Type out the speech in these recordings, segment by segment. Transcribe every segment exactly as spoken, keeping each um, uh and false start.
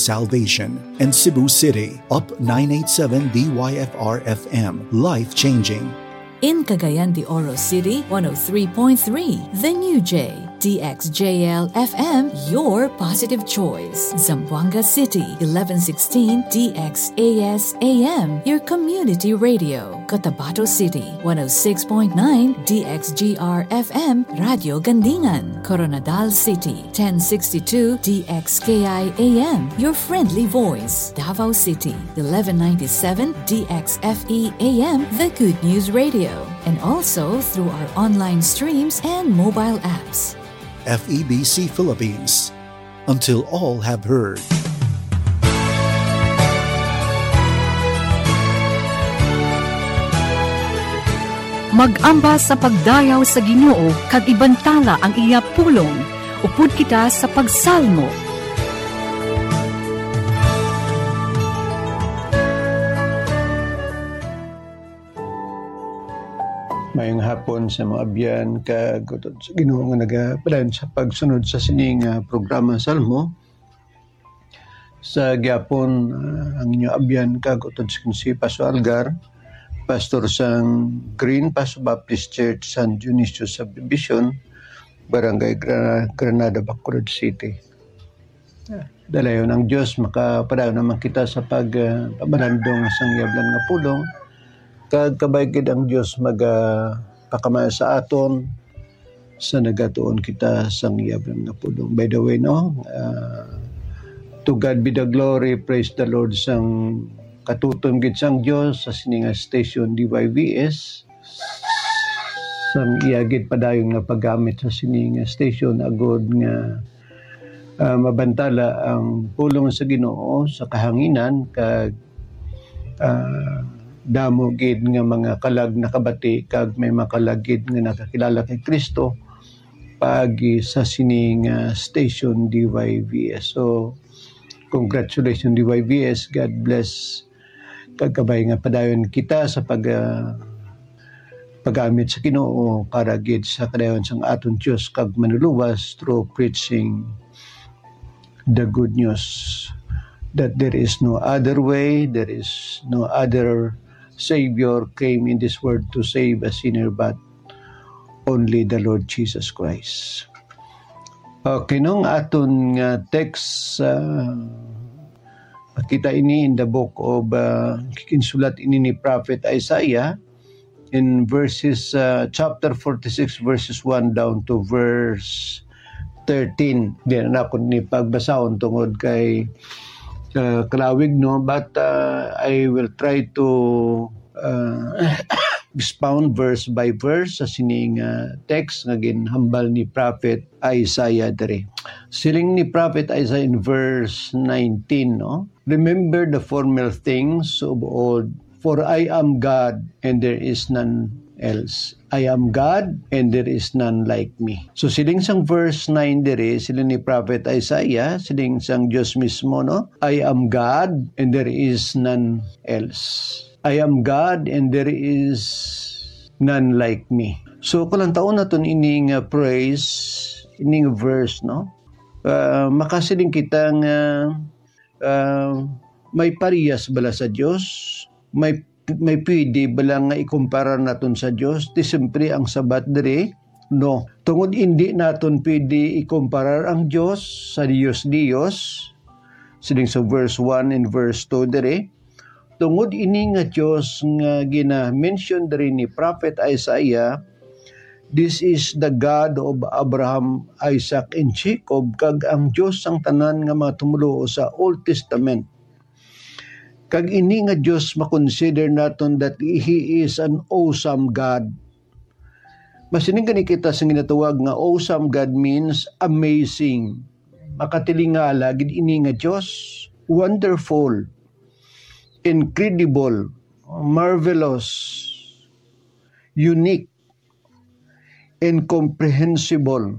Salvation, and Cebu City, Up nine eight seven D Y F R F M, life-changing. In Cagayan de Oro City, one oh three point three, The New J, D X J L F M, your positive choice. Zamboanga City, eleven sixteen D X A S A M, your community radio. Cotabato City, one oh six point nine D X G R F M, Radio Gandingan. Koronadal City, ten sixty-two D X K I A M, your friendly voice. Davao City, eleven ninety-seven D X F E A M, the Good News Radio. And also through our online streams and mobile apps. F E B C Philippines. Until all have heard. Mag-amba sa pagdayaw sa Ginoo kag ibantala ang iya pulong. Upod kita sa pagsalmo. Mayong hapon sa mga abyan kag utod sa Ginoo nga nagapadayon sa pagsunod sa sini nga programa Salmo. Sa gihapon, ah, ang inyo abyan kag utod sa si Pastor Algar, pastor sang Green Paso Baptist Church, San Dionisio Subdivision, Barangay Gra-, Granada, Bacolod City. Dalayon ang Dios, makapadayon naman kita sa pag, ah, pamalandong sang iya blan nga pulong. Kag kabay gid ang Dios maga, ah, pakamay sa aton sa nagatuon kita sang iya blan nga pulong. By the way, no, ah, to God be the glory, praise the Lord, sang katutom gid sang Dios sa sini nga station D Y V S. Sang iya gid padayon nga paggamit sa sini nga station agod nga, ah, mabantala ang pulong sa Ginoo sa kahanginan kag, ah, damo gid nga mga kalag nakabati kag may mga kalag gid nga nakakilala kay Cristo paagi sa sini nga station D Y V S. So, congratulations, D Y V S. God bless. Kag kabay nga padayon kita sa pag, ah, paggamit sa Ginoo para gid sa kadayon sang aton Dios kag Manluluwas through preaching the good news that there is no other way, there is no other Savior came in this world to save a sinner but only the Lord Jesus Christ. Okay, no, ang aton nga text, ah, makita ini in the book of, ah, ginsulat ini ni Prophet Isaiah in verses, ah, chapter forty-six, verses one down to verse thirteen. Di na ako ni pagbasahon tungod kay, ah, kalawig, no? But, ah, I will try to, ah, expound verse by verse sa sining, ah, text nga ginhambal ni Prophet Isaiah diri. Siling ni Prophet Isaiah in verse nineteen, no? "Remember the former things of old, for I am God and there is none else. I am God and there is none like me." So, siling sang verse nine diri, siling ni Prophet Isaiah, siling sang Dios mismo, no? "I am God and there is none else. I am God and there is none like me." So, kalantaon naton ini nga phrase, ini nga verse, no? Ah, makasiling kita nga, ah, may parehas bala sa Dios? May, may pwede bala nga ikumparar naton sa Dios? Di siyempre ang sabat diri, no. Tungod indi naton pwede ikumparar ang Dios sa Dios-Dios, siling sa verse one and verse two diri, tungod ini nga Dios nga gina-mention diri ni Prophet Isaiah, "This is the God of Abraham, Isaac, and Jacob," kag ang Dios sang tanan nga mga tumoluo sa Old Testament. Kag ini nga Dios makonsider naton that He is an awesome God. Masiling gani kita sa ginatawag nga awesome God means amazing. Makatilingala gid ini nga Dios. Wonderful, incredible, marvelous, unique, incomprehensible,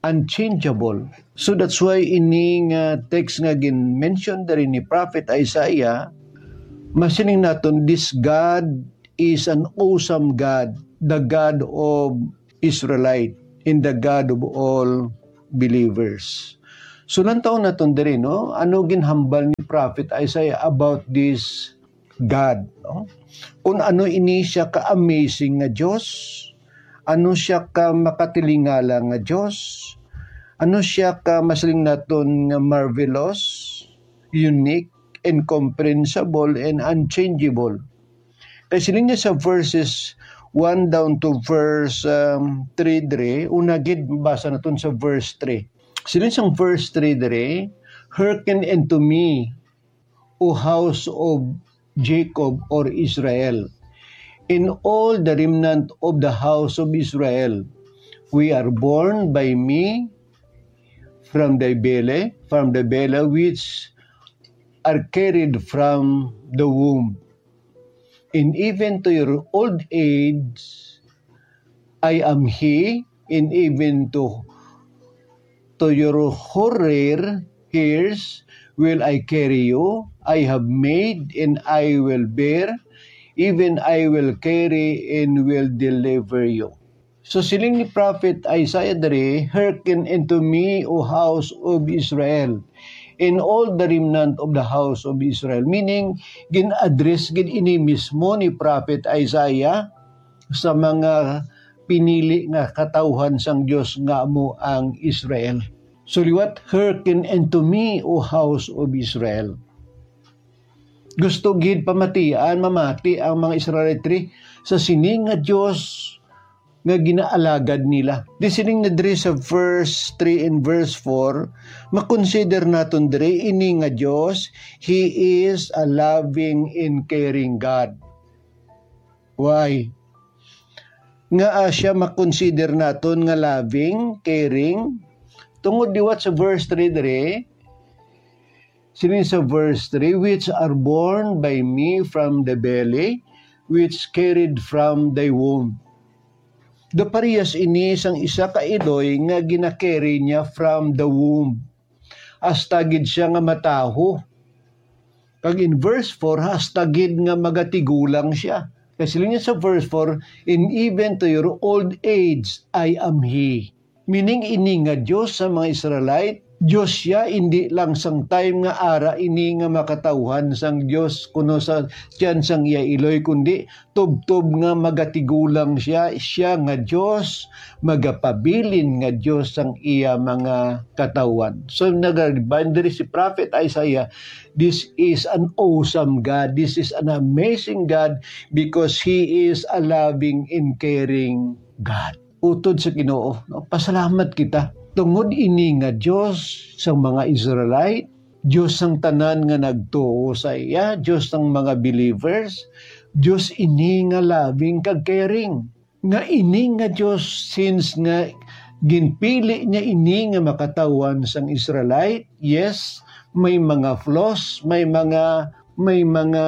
unchangeable. So that's why ini nga text nga gin-mention diri ni Prophet Isaiah, masiling naton, "This God is an awesome God, the God of Israelite, and the God of all believers." So, lantaw naton diri, no? Ano ginhambal ni Prophet Isaiah about this God, no? Kung ano ini siya ka-amazing nga Dios, ano siya ka makatilingala nga Dios, ano siya ka masiling naton nga marvelous, unique, incomprehensible, and unchangeable. Kay siling niya sa verses one down to verse, um, three diri, una gid basa naton sa verse three. Siling sang verse three diri, "Hearken unto me, O house of Jacob or Israel, and all the remnant of the house of Israel, we are born by me from the belly, from the belly which are carried from the womb. And even to your old age, I am he, and even to, to your hoary hairs will I carry you. I have made, and I will bear, even I will carry and will deliver you." So, siling ni Prophet Isaiah diri, "Hearken unto me, O house of Israel, and all the remnant of the house of Israel." Meaning, gin-address gid ini mismo ni Prophet Isaiah sa mga pinili nga katawhan sang Dios nga amo ang Israel. So, liwat, "Hearken unto me, O house of Israel." Gusto gid pamatian, mamati ang mga Israelite sa sini nga Dios nga ginaalagad nila. Di siling na diri sa verse three and verse four, makonsider naton diri ini nga Dios, He is a loving and caring God. Why? Nga, ah, siya makonsider naton nga loving, caring? Tungod liwat sa verse three diri, siling sa verse three, "Which are born by me from the belly, which carried from thy womb." Do parehas ini sang isa ka iloy nga ginacarry niya from the womb. Hasta gid siya nga matawo. Kag in verse four, hasta gid nga magatigulang siya. Kay siling niya sa verse four, "And even to your old age, I am He." Meaning, ini nga Dios sa mga Israelite, Dios siya, hindi lang sang time nga ara ini nga makatawhan sang Dios kuno sa tiyan sang iya iloy, kundi tubtob nga magatigulang siya, siya nga Dios, magapabilin nga Dios sang iya mga katawhan. So, nag-remind diri si Prophet Isaiah, "This is an awesome God. This is an amazing God because He is a loving and caring God." Utod sa Ginoo, no? Pasalamat kita. Tungod ini nga Dios sang mga Israelite, Dios sang tanan nga nagtuo sa iya, Dios sang mga believers, Dios ini nga loving kag caring. Nga ini nga Dios, since nga ginpili niya ini nga makatawhan sang Israelite, yes, may mga flaws, may mga, may mga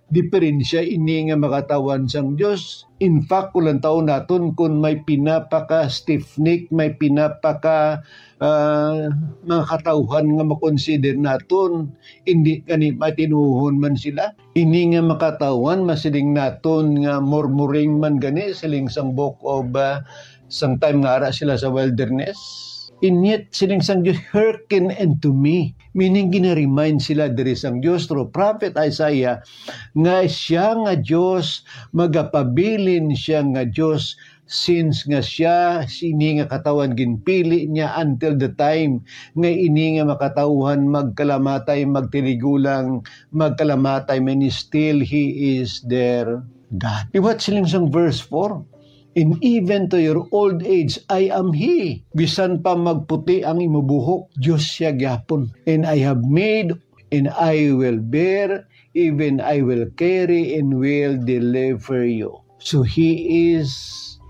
diferensya ini nga makatawhan sang Dios. In fact, kung lantaw naton, kung may pinapaka-stiff-neck, may pinapaka, ah, mga katawhan nga makonsider naton, hindi gani matinuhon man sila. Ini nga makatawhan, masiling naton nga murmuring man gani, siling sang Book of, ah, sang time nga ara sila sa wilderness. And yet, siling sang Dios, "Hearken unto me." Meaning, gina-remind sila diri sang Dios through Prophet Isaiah nga siya nga Dios, magapabilin siya nga Dios, since nga siya, sini nga katawhan ginpili niya until the time nga ini nga makatawhan magkalamatay, magtiligulang, magkalamatay, man still He is their God. Liwat siling sang verse four, "And even to your old age, I am He." Bisan pa magputi ang imo buhok, Dios siya gyapon. "And I have made, and I will bear, even I will carry, and will deliver you." So He is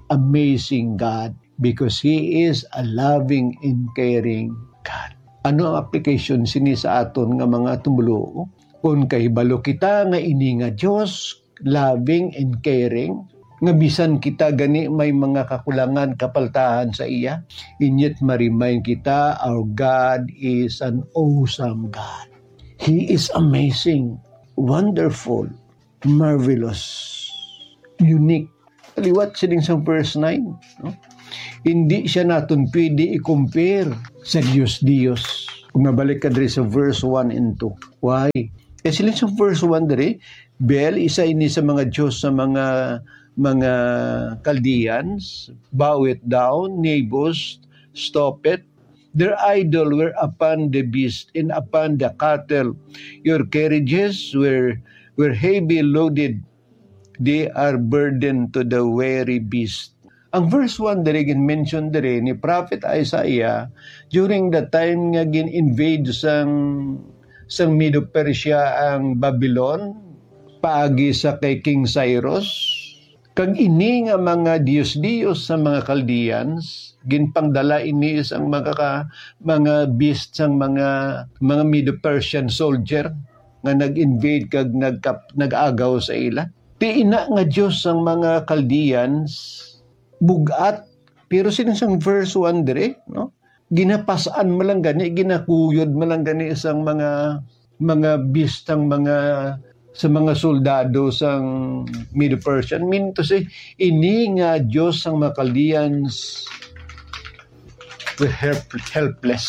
amazing God because He is a loving and caring God. Ano ang application sini sa aton nga mga tumuluo? Kung kahibalo kita nga ini nga Dios, loving and caring, nga bisan kita gani may mga kakulangan, kapaltahan sa iya, and yet ma-remind kita, our God is an awesome God. He is amazing, wonderful, marvelous, unique. Liwat siling sang verse nine, no? Hindi siya naton pwede i-compare sa Dios-Dios. Kung mabalik ka diri sa verse one and two. Why? Kasi lang sa verse one diri, Bel, isa ini sa mga diyos sa mga, mga Chaldeans, bow it down, Nebos, stop it. Their idol were upon the beast and upon the cattle. Your carriages were, were heavy loaded. They are burden to the weary beast. Ang verse one diri gin-mention diri ni Prophet Isaiah during the time nga gin-invade sang, sang Medo-Persia ang Babylon paagi sa kay King Cyrus. Kag ini nga mga dios-dios sa mga Chaldeans, ginpangdala ini sang mga ka-, mga beast sang mga, mga Medo-Persian soldier nga nag-invade kag nagkap-, nag-agaw sa ila. Ti ina nga Dios sang mga Chaldeans, bug-at. Pero sini sang verse one diri, no? Ginapas-an man lang gani, ginakuyod man lang gani sang mga, mga beast, ang mga, sa mga soldado sang Medo-Persian. Mean to say, ini nga Dios sang mga Chaldeans were help-, helpless.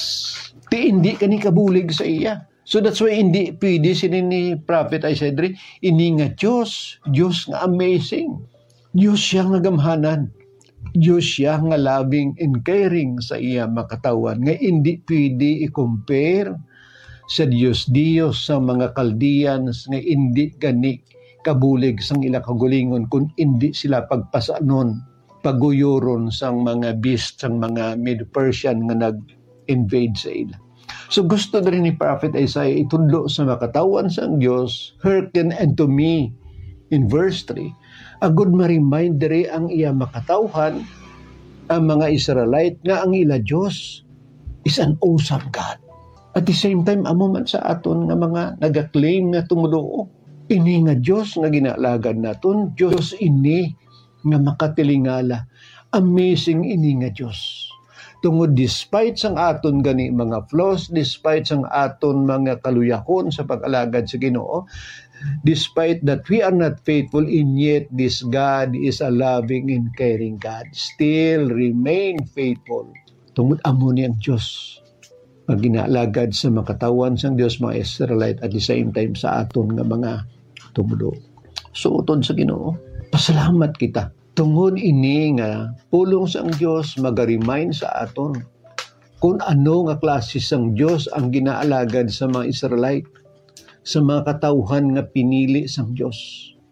Ti hindi kani kabulig sa iya. So that's why hindi pwede sini ni Prophet Isaiah diri, ini nga Dios, Dios nga amazing. Dios siya nga gamhanan. Dios siya nga loving and caring sa iya makatawhan, nga hindi pwede i-compare sa dios-dios sa mga Chaldeans nga hindi gani kabulig sang ila kaugalingon, kun hindi sila pagpasanon, paguyoron sang mga beast, sang mga Medo-Persian nga nag-invade sa ila. So gusto diri ni Prophet Isaiah itudlo sa makatawhan sang Dios, "Hearken unto me," in verse three, agud ma-remind diri ang iya makatawhan, ang mga Israelite, nga ang ila Dios is an awesome God. At the same time, amo man sa aton nga mga nagaklaim nga tumoluo, ini nga Dios nga ginaalagad naton, Dios ini nga makatilingala. Amazing ini nga Dios. Tungod despite sang aton gani mga flaws, despite sang aton mga kaluyahon sa pag-alagad sa Ginoo, despite that we are not faithful, and yet this God is a loving and caring God. Still remain faithful. Tungod amo ni ang Dios nga ginaalagad sa makatawhan sang Dios, mga Israelite, at the same time sa aton nga mga tumoluo. Suoton sa Ginoo. Pasalamat kita. Tungod ini nga pulong sang Dios maga-remind sa aton kung ano nga klase sang Dios ang ginaalagad sa mga Israelite, sa mga katawhan nga pinili sang Dios,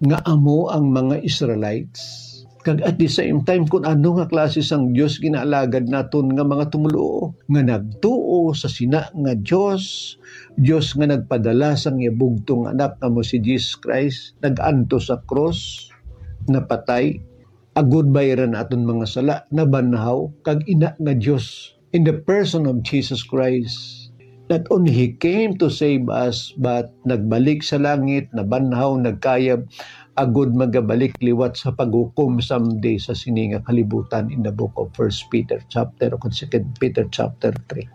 nga amo ang mga Israelites. Kag at the same time, kung ano nga klase sang Dios ginaalagad naton nga mga tumoluo, nga nagtuo sa sina nga Dios, Dios nga nagpadala sang iya bugtong Anak nga amo si Jesus Christ, nag-antos sa krus, napatay, agud bayran aton mga sala, nabanhaw, kag ina nga Dios, in the person of Jesus Christ. Not only He came to save us, but nagbalik sa langit, nabanhaw, nagkayab, agud magabalik liwat sa paghukom someday sa sini nga kalibutan, in the book of First Peter chapter, o Second Peter chapter three.